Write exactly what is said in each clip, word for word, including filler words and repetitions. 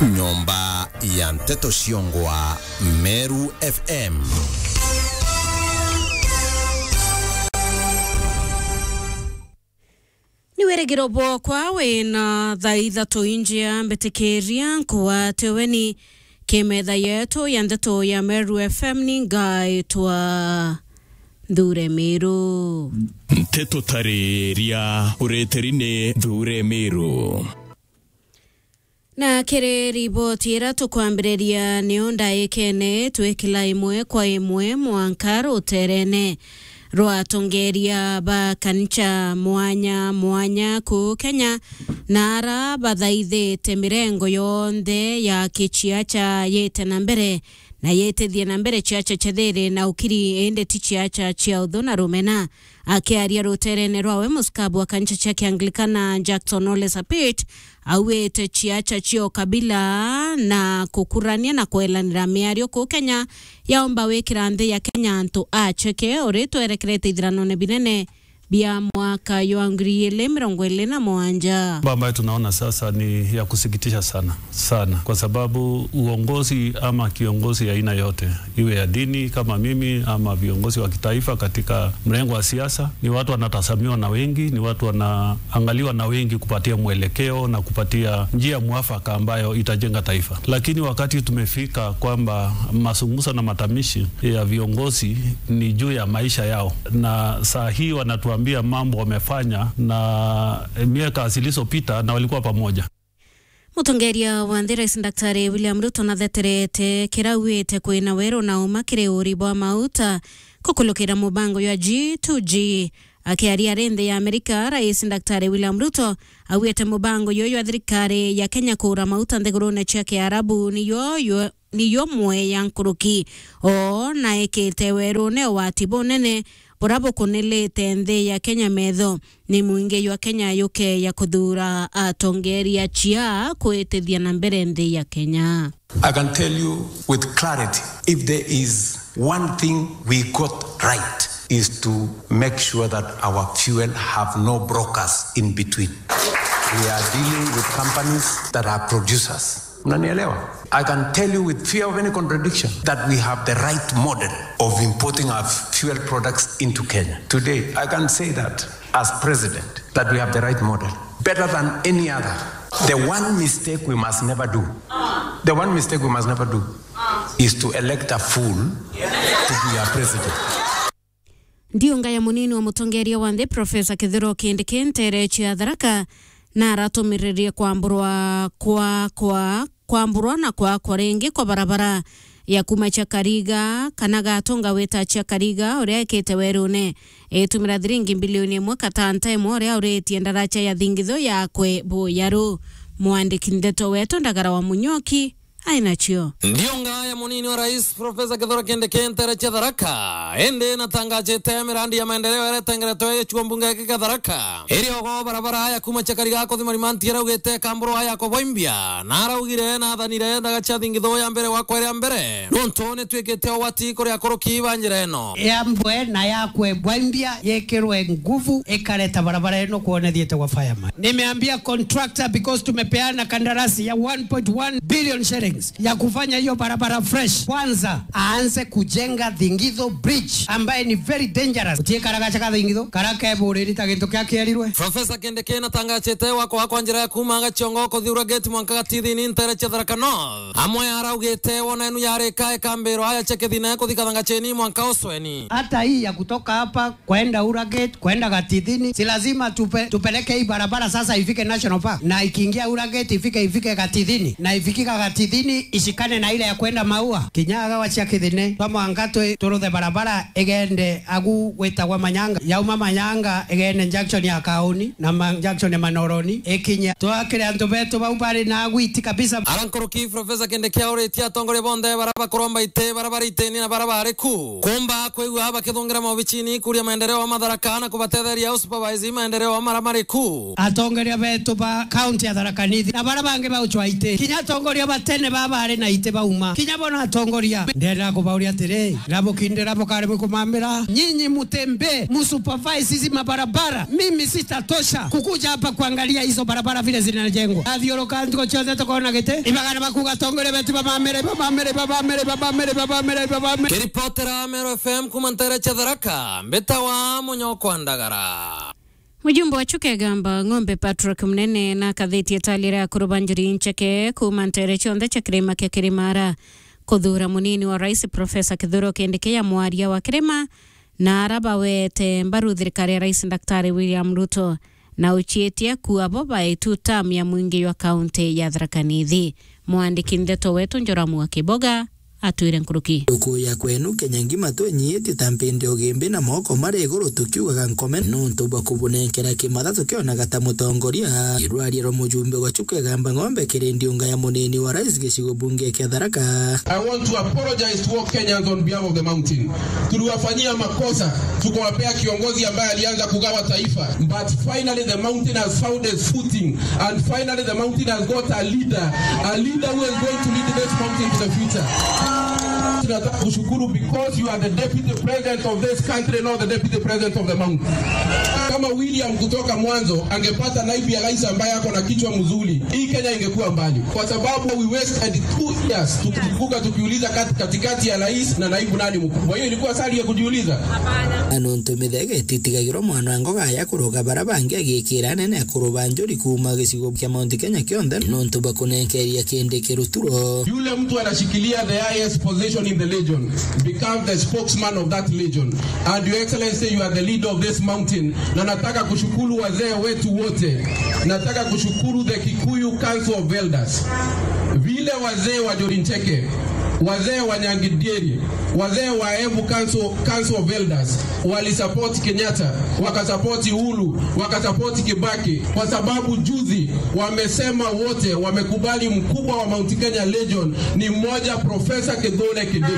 Nyomba ya nteto ciongwa Meru F M. Ni wirigiro bwokwa wina thaa ithatu injia mbitikiria nkuwate weni ki metha yetu ya nteto ya Meru F M ni ngaitwa Nthure Miru. Nteto tariria ureteri ni Nthure Miru. Na kiri riboti ira tukwambiriria, niyo ndaikene twikila imwe kwa imwe mwanka ruterene rwa atongeria ba kanisa mwanya mwanya kuu Kenya, na ara bathaithite mirengo yonthe ya kiciaca yite na mbere na yitithie na mbere ciaca cia thiri na ukiri, indi ti ciaca cia uthu na rumena. Akiaria ruterene rwawe, musikabu wa kanisa cia Kianglikana Jackson Ole Sapit auite ciaca cia ukabila na kukurania na kwelanira miario kuu Kenya yaomba wikira nthi ya Kenya antu acheke uri twerekerete ithiranone binene bia mwaka jwa ngiri igiri mirongo iri na mugwanja. Mambo ambayo tunaona sasa ni ya kusikitisha sana sana, kwa sababu uongozi ama kiongozi ya aina yote, iwe ya dini kama mimi ama viongozi wa kitaifa katika mrengo wa siasa, ni watu wanatazamiwa na wengi, ni watu wanaangaliwa na wengi kupatia mwelekeo na kupatia njia mwafaka ambayo itajenga taifa. Lakini wakati tumefika kwamba mazungumzo na matamshi ya viongozi ni juu ya maisha yao, na saa hii wanatuambia mambo wamefanya na miaka zilizopita na walikuwa pamoja. Mutongeria wa nthi, Rais Daktari William Ruto, natheterete kira auite kwina weru na uma kiri uri bwa mauta kukulukira mubango jwa G two G. Akiaria ari nthi ya Amerika, Rais Daktari William Ruto auite mubango juju jwa thirikari ya Kenya kuura mauta nthigurune cia Kiarabu niyo, yo, niyo mwe ya nkuruki. O na ekite werune ugwati bunene bura bukunilite nthi ya Kenya metho. Ni mwingi jwa Kenya yuke ya kuthura atongeria chia kwitithia na mbere nthi ya Kenya. I can tell you with clarity, if there is one thing we got right, is to make sure that our fuel have no brokers in between. We are dealing with companies that are producers. Unanielewa? I can tell you with fear of any contradiction that we have the right model of importing our fuel products into Kenya. Today, I can say that as president, that we have the right model, better than any other. The one mistake we must never do, the one mistake we must never do is to elect a fool to be our president. Ndiunga ya munini wa mutongeria wa nthi, Profesa Kithure Kindiki, ntere cia Tharaka, na aratumiririe kwamburwa kwa, kwa, kwamburwa na kwakwa ringi kwa barabara ya kuma Chakariga, kana Gatunga wita Chakariga, uria ekite werune itumira thiringi mbilioni imwe katanta imwe, uria uritie ndaracha ya thingitho yakwe buyaru. Mwandiki ndeto wetu Ndagara wa Munyoki ai nacio. Ndiunga ya munini wa rais, Profesa Kithure Kindiki, ntere cia Tharaka, indi natangajite mirandi ya maendeleo iria itengeretwe gicigo mbunge giki kia Tharaka. Iri ogo barabara ya kuma Chakariga kuthi Marimanti iraugite kamburwa ya kubwaimbia, na araugire nathanire ndaga cia thingitho ya mbere gwakwa iria mbere, nontu nitwikite ugwati kuri akuruki ba njira ino. Yambwe na yakwe bwaimbia, yikirwe nguvu, ikareta barabara ino kwona thiete gwa fireman. Nimeambia contractor, because tumepeana kandarasi ya one point one billion shillings ya kufanya hiyo barabara fresh. Kwanza, aanze kujenga Thingitho Bridge, ambaye ni very dangerous. Utie karaga chaka Thingitho, karaka eburiri ta gintu kia kierirwe. Professor Kindiki natangachite wako wakwa njira ya kuma Gachongo kuthi Uragate mwanka Gatithini ntere cia Tharaka North. Amwe araugite wona enu yarika ikambirwa aya chekethine kuthi Kathangacheni mwanka Usweni. Hata hii ya kutoka hapa kwenda Uragate, kwenda Gatithini, si lazima tupe-, tupeleke hii barabara sasa ifike National Park, na ikiingia Uragate ifike, ifike Gatithini, na ifikika Gatithini ishikane na ile ya kwenda Maua. Kinya agawa cia Kithine, twa mwanka twi-, turuthe barabara igende agu gwitagwa Manyanga, yauma Manyanga igende junction ya Kauni na ma-, junction ya Manoroni ikinye. Twakire antu betu bau bari na agwiti kabisa. Ara nkuruki Professor Kindiki auritie atongoria bonthe bara bakuromba iti, bara bari itini na bara bari ku, kumba kwigua bakithungira maobicini kuria maendeleo wa Matharaka na kubatetheria usupervise maendeleo wa mara mari ku. Atongoria betu ba kaunti ya Tharaka Nithi na bara bangi ba uchwa iti, kinya atongoria ba tene Baba ari na iti bauma. Kinya bona atongoria. Ndenda kubauria atiri, rabukindira bukari bukumamira. Nyinyi mutembee, musupervise hizi mabarabara. Mimi sitatosha kukuja hapa kuangalia hizo barabara vile zinajengwa. Athiuruka ntuku cionthe tukona giti. Ibagana bakuga atongoria betu bamamire, bamamire, bamamire, bamamire, bamamire, bamamire. Kiripotera Meru F M kuma ntere cia Tharaka, mbitawa Munyokwa Ndagara. Mujumbe wa Chuka Igamba Ng'ombe Patrick Munene na akathetie itali ria akuru ba njuri incheke kuuma ntere cionthe cia kirima kia Kirimara kuthuura munini wa rais Professor Kithure Kindiki ya mwaria wa kirima na ara bawete mbaru thirikari ya rais Daktari William Ruto na ucietie kuwa bo baitu term ya mwingi jwa kaunti ya Tharaka Nithi. Mwandiki ndeto wetu Njoramu wa Kiboga atwire nkuruki. Nduku ya kwenu Kenya ngima twenyiitie ta mpindi ugimbi na moko mari iguru tukiugaga nkome nontu bwa kubunenkera kimatha tukionaga ta mutongoria. Irwaria rwa mujumbe wa Chuka Igamba Ng'ombe kiri ndiunga ya munini wa rais gicigo bunge kia Tharaka. I want to apologize to all Kenyans on behalf of the mountain. Tuliwafanyia makosa, tukawapea kiongozi ambaye alianza kugawa taifa. But finally the mountain has found its footing. And finally, the mountain has got a leader, a leader who is going to lead this mountain to the future. Tunataka kushukuru because you are the deputy president of this country, not the deputy president of the mountain. Kama William kutoka mwanzo angepata naibu ya rais ambaye ako na kichwa mzuri, hii Kenya ingekuwa mbali, kwa sababu we wasted two years tukivuka tukiuliza kat-, katikati ya rais na naibu nani mkubwa. Hiyo ilikuwa sali ya kujiuliza? Na nontu mithega ititigagirwa mwana wa ngoga ya kuroga bara bangi agikira anene akuru ba njuri kuuma gicigo kia Mount Kenya kionthe nontu bwa kunenkeria Kindiki ruturo. Yule mtu anashikilia the highest position in the legion becomes the spokesman of that legion. And Your Excellency, you are the leader of this mountain. Na nataka kushukuru wazee wetu wote. Nataka kushukuru the Kikuyu Council of Elders. Vile wazee wa Njuri Ncheke, wazee wa Nyangidieri, wazee wa Embu Council, Council of Elders walisupport Kenyatta, wakasupport Uhuru, wakasupport Kibaki, kwa sababu juzi wamesema wote wamekubali mkubwa wa Mount Kenya Legion ni mmoja, Professor Kithure Kindiki.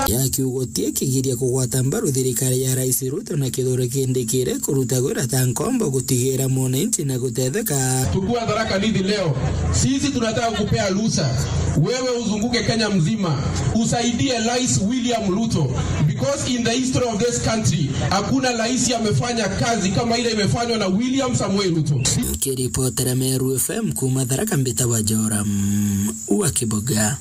Ya kiugo tie kigiria kugwata mbaru thirikari ya Rais Ruto na Kithure Kindiki iri kuruta gwira ta nkombo gutigira mwananchi na gutetheka. Tukiwa Tharaka Nithi leo, sisi tunataka kupea ruhusa wewe uzunguke Kenya mzima, usaidie Rais William Ruto, because in the history of this country, hakuna rais amefanya kazi kama ile imefanywa na William Samoei Ruto. Nkiripotera Meru F M kuuma Tharaka, mbitagwa Joram wa Kiboga.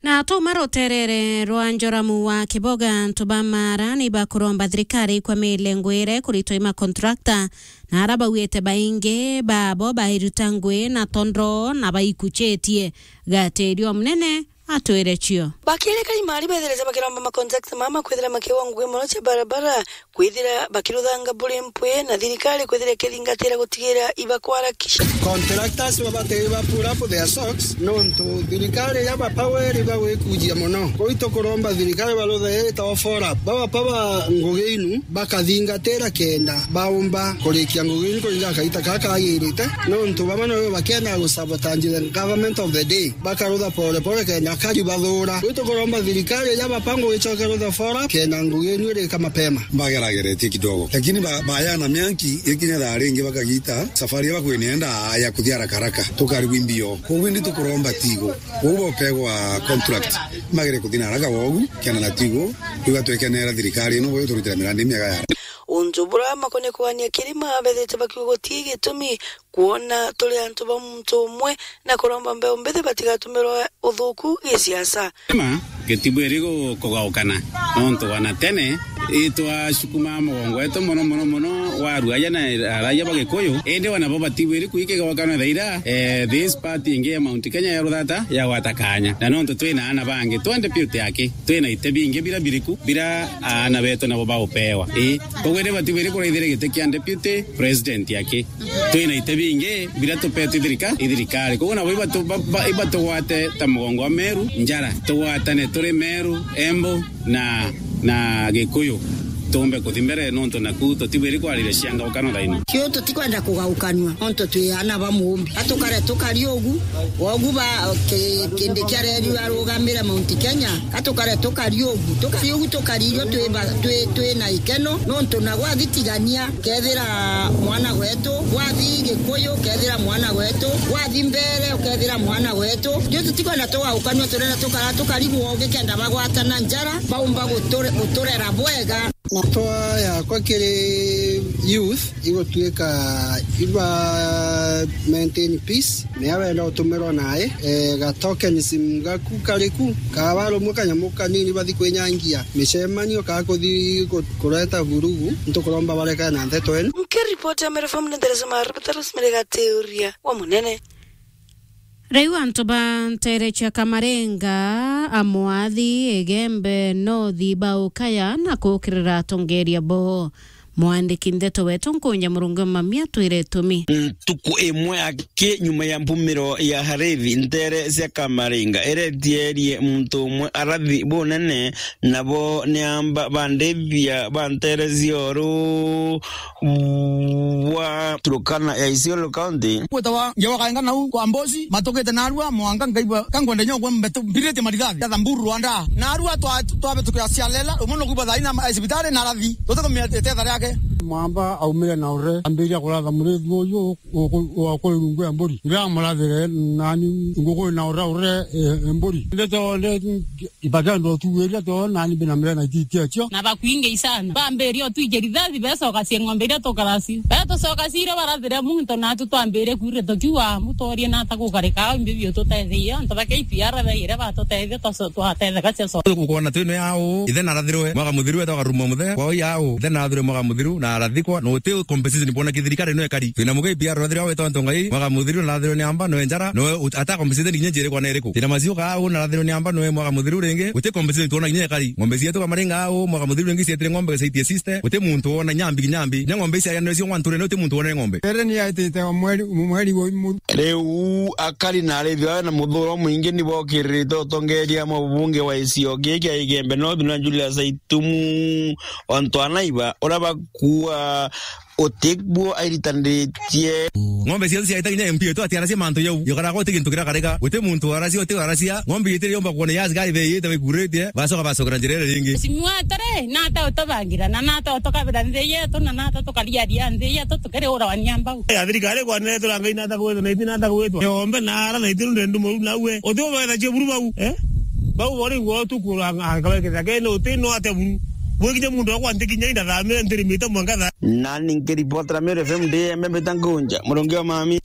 Na twauma ruterere rwa Njoramu wa Kiboga, antu ba Mara ni bakuromba thirikari ikwamire ngwire kuritwa i makontrakta na ara bauite baingi babo bairuta ngui na tondro na baikuchitie. Gatirio munene atwire cio. Bakiri kaimari bethirite bakiromba makontrakta mama kwithira makiwa ngui mono cia barabara, kwithira bakiruthanga buri mpwi na thirikari kwithira ikithingatira gutigira ibakwarakisha. Contractors babatiri ba pull up their socks nontu thirikari ya bapaweri bagwikujia mono. Kuu tukuromba thirikari baruthe ita o four up. Baba paba ngugi inu bakathingatira kenda baumba kurikia ngugi inu kuringa kaita kaka kagirite nontu bamwe nabo bakienda gusabotage the government of the day. Bakarutha pole pole kenda kari bathura. Kuu tukuromba thirikari ya bapangwa icoke rutha four up kenda ngugi inu irika mapema. Bagerageretie kidogo, lakini ba-, bayana mianki ikinya thaa ringi bakagita safari ya bakwinenda ya kuthia haraka haraka, tukarigwa imbio. Koguo indi tukuromba tigo, koguo bopegwa contract, magere kuthia na haraka wogu, kenda na tigo, igatwekenera thirikari ino, boyo turutira mirandi miega ya. Untu bura makonie kugania kirima bethite bakiuga guti gitumi kwona turi antu ba muntu umwe na kuromba mbeu mbithi batigatumirwe uthuku gisiasa. Ma, gitibwiri gu-, kugaukana, nontu wana tene itwacukuma mugongo wetu mono, mono, mono, wa aruaja na araia ba Gikuyu, indi wana bo batibwiri kuikigaukana thaira, eh, this party ingi ya Mount Kenya ya ruthata yagwata kanya. Na nontu twina ana bangi, twende piu ti aki, twina ite bingi bira biriku, bira aana betu nabo baupewa. Ii, koguo indi batibwiri kuraithira giti kia deputy president aki. Twina ite bingi biria tupetwe i thirika-, i thirikari. Koguo nabo ibatu-, ba-, ba-, ibatugwate ta mugongo wa Meru njara. Tugwatane turi Meru, Embu na, na Gikuyu. Tuumbe kuthi mbere, nontu naku tutibwiri kwariria cianga ukano thaino. Cio tutikwenda kugaukanua, nontu twi ana ba muumbi. Atukare tukari ugu, ogu ba ki-, kindi kia reri arugamire Mount Kenya, atukare tukari ugu. Tukari ugu, tukari irio twi ba-, twi, twi na ikeno, nontu na gwathi tigania, kethira mwana gwetu, gwathi Gikuyu, kethira mwana gwetu, gwathi mbere, ukethira mwana gwetu. Cio tutikwenda tugaukanua, turenda tukara, tukari ugu, gikenda bagwatana njara, baumba guture-, guturera bwega. Matwa yakwa kiri youth igutuika iba maintain peace, mea wenda utumirwa nae, eh, ga tokenism gaku kariku, kaba rumwe kanyamu kanini bathi kwinyangia micemanio, kaa kuthi ku-, kureta vurugu, ntukuromba barekane na nteto enu. Nkiripoti ya Meru F M ni Theresa Maru, Theresa Merega Teuria wa Munene. Riu antu ba nteere cia Kamarenga, Amwathi, Igembe, Nothi baukaya na kuukirira atongeeria boo. Mwandiki ndeto wetu Nkunja Murungi Mami atwire itumi. Ntuku imwe aki nyuma ya mbumiro ya Harithi, nteere cia Kamarenga iretierie muntu umwe arathi bunene, nabo ni amba bandithia ba nteere cia uru bwa Turkana ya Isiolo County. Gwitawa ngewa kaenga nau kwa Mbosi, matukite narua mwanka ngaigua kankwenda nyo kwa mbetu mbirite marithathi. Ya Thamburu Rwanda. Narua twa-, twabitukira Sialela, umwe nukuba thaina ma-, cibitari na arathi. Tutatumia itetha riake. Mwamba aumire na ure, ambiria kuratha murithi uyu, uku-, wa kuri rungu ya mburi. Ndiramurathire nani nguku na ure ure, e, e, mburi. Ndeto nde Ibagendo tuwiria tio nani mbina mire na ititia cio. Na bakwingi sana. Bambiria otwije rithathi, becoka cie ng'ombe iria tukaraci. Betucoka cire barathire muntu natu twambire kwire tukiuga, "Mutoorie nata gukarika au imbi biu tuteethie." Antu ba K P R baire batutethia, twaco-, twatetheka cia co-. Gukona twino yao, ithe narathirwe, mwaka muthiru etagwa Rumo Muthe. Kwao yao, ithe narathirwe mwaka muthiru, na arathikwa, na uti compensation bona kithirikari no ekari. Twina mu K P R rathirwa wetwa Ntongai, mwaka muthiru narathirwe ni amba, no enjara, no ut-, ata compensation kinya njiri kwa na iriku. Twina macio kaa, narathirwe ni amba, no mwaka muthiru ringi, uti compensation twona kinya ekari. Ng'ombe cietu Kamarenga au, mwaka muthiru ringi cietire ng'ombe gicaitie sister, uti muntu wona nyambi kinyambi. Nya ng'ombe ici ayanire cio one two, uti muntu wonere ng'ombe. Ere ni aitite o mweri, mweri wa imu. Riu akari na arithi bawe na muthuro mwingi ni bokiririte utongeria mwa bubunge wa icio giki kia Igembe North na Julius Aitumu, ontu anaiba uria bakuua uti buo airitanitie. Ng'ombe cionthe ciaita kinya M P yetu atiaracia mantu jau. Yokaraga uti gintu kirakarika. Uti muntu waracia, uti waracia. Ng'ombe itiri yomba kuona ya askari beyite baikuritie. Bacoka bacokera njira iria ringi. Simwatare, nata utubangira, na nata utukabira nthi yetu, na nata tukariaria nthi yetu, tukiriura wania mbau. Ya thirikari kwanire turangai nata gwitwa, na iti nata gwitwa. Yombe na ara na iti ndendu moru nawe. Uti ubetha cia buru bau, eh? Bau bori ngo tu kuranga, angabeketha kene uti no ate buru. Bwikinya muntu wakwa ntikinya indathamire ntirimite mwanka tha. Nani nkiripotera Meru F M ndi Embe mbita Nkunja, Murungi wa Mami.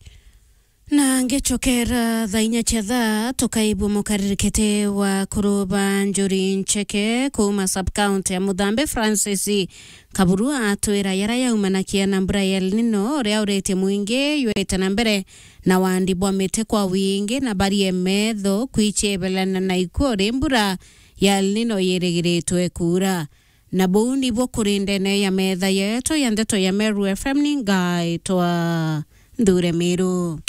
Na ngicokera thaa inya cia thaa, tukaibua mukaririkite wa kuruba njuri ncheke kuuma sub-county ya Muthambe, Francis Kaburu atwira yara yaumanakia na mbura ya El Nino, uria uretie mwingi yurite na mbere na wandi bwa miti kwa wingi na barie metho kwichebelana na ikwo ri mbura ya El Nino yirigiritwe kuura. Na buu nibuo kuri ndene ya metha yetu ya ndeto ya Meru F M, ni ngaitwa Nthure Miru.